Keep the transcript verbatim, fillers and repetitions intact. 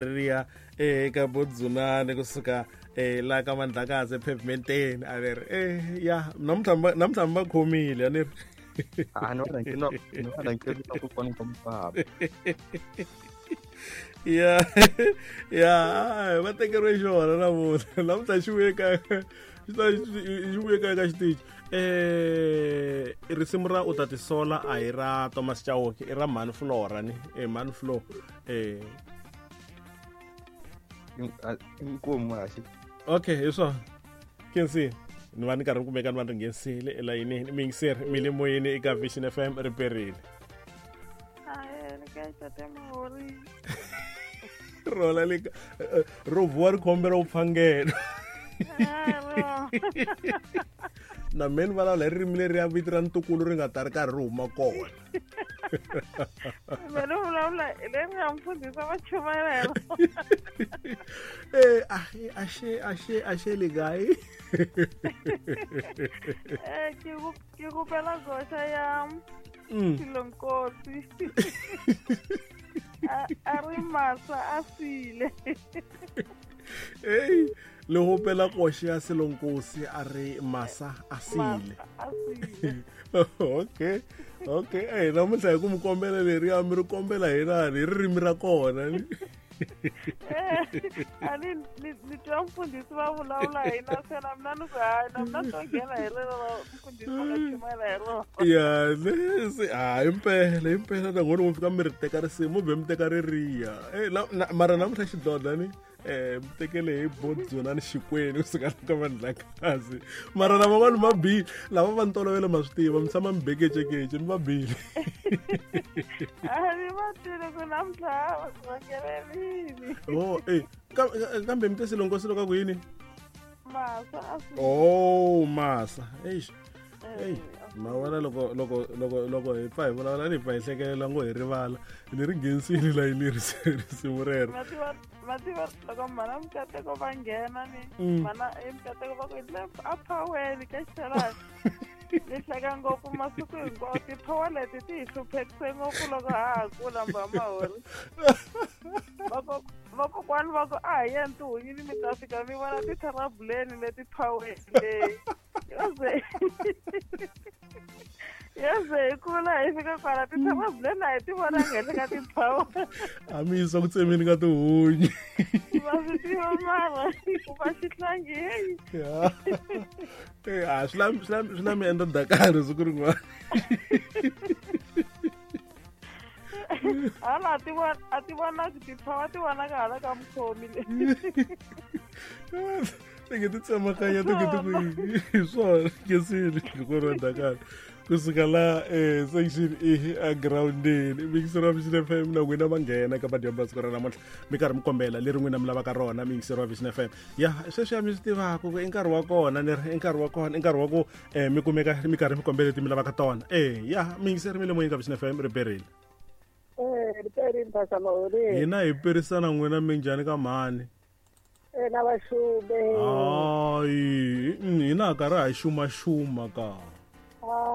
Riya eka Bodzunani kusuka eh la ka Mandlakazi epavementeni a ri eh ya namuntlha namuntlha mi va khomile a ni ri a ni va rhangeni ni va rhangeni ku kona ka mufamba ya ya va tekeriwe xona namuntlha namuntlha xi vuye ka xi vuye ka ka xitichi eh risimu ra u ta tisola a hi ra Thomas Chauke i ra Mhani Flora ni eh Mhani Flo eh inkomu haxi okay hi swona Kensi ni va ni karhi ni kumeka ni va ni nghenisile elayinini miyingiseri mi le moyeni eka Vision F M ri perile rola le ro vuwa ri khombela u pfangela na me ni vulavula hi ririmi leri ya vito ra ntukulu ri nga ta ri karhi ri huma kona me ni vulavula hi leri nga mfundhisi va chumayela hi rona eh axe axe axe le kae eh ke ke kopela goxa ya Silonkosi a ri masa a sile hey le hopela koxe ya Silonkosi a ri masa a sile okay okay eh namuntlha hi ku mi kombela leriya mi ri kombela hi nani hi ririmi ra kona ni a ni ni twa mfundhisi va vulavula hi na se na mina ni ku hayi na mina to nghena hi rero ra mfundhisi va nga chumayela hi rona ya se ha impela impela na n'wina mi fika mi ri teka risimu be mi teka ririya eh mara namuntlha xidlodla ni eh mi tekele hi Bodzunani Xikwenu kusuka ka Mandlakazi mara lava vanhu va bile lava va ntolovelo ma swi tiva mi tshama mi bekecekece mi va bile a ni va twile ku namuntlha va nghenelini oh eh kambe mi te Silonkosi loko ku yini masa oh masa eish ei ma vona loko loko loko loko hi pfa hi vulavula ni hi pfa hi hlekelela ngo hi rivala ni ri nghenisile layini risimu rero va tiva loko mhana Mukateko va nghena ni mhana Mukateko va ku le a phaweni ka xelani ni hleka ngopfu masiku hinkwawo tiphawa leti ti hi hluphekise ngopfu loko ha ha kula mbamahori vakokwani va ku a hi yeni tihunyini mi ta fika mi vona titharabuleni leti phaweni leyi yoze yoze hi kula hi fika kwala titharabuleni a hi ti vonanga henhla ka tiphawa a mi yisa ku tsemeni ka tihunyi va swi tiva mara ku va xihlangi heyi a swi la swi la mi endla dakari siku rin'wana hala a ti vona a ti vonaki tiphawa ti vonaka hala ka mukhomi le ti nge ti tsemakanya ti nge ti ku hi swona kesile loko ri dakari kusuka la eh section E a groundini miyingiseri wa Vision F M na n'wina va nghena eka madyambu ya siku ra namuntlha mi karhi mi kombela leri n'wina mi lavaka rona miyingiseri wa Vision F M ya sweswiya mi swi tivaka ku i nkarhi wa kona ni ri i nkarhi wa kona i nkarhi wa ku um mi kumeka mi karhi mi kombela leti mi lavaka tona e ya miyingiseri mi le moyeni ka Vision F M ri perile hina hi perisana n'wina minjhani ka mhani na vaxume hayi hina ha karhi ha xumaxuma ka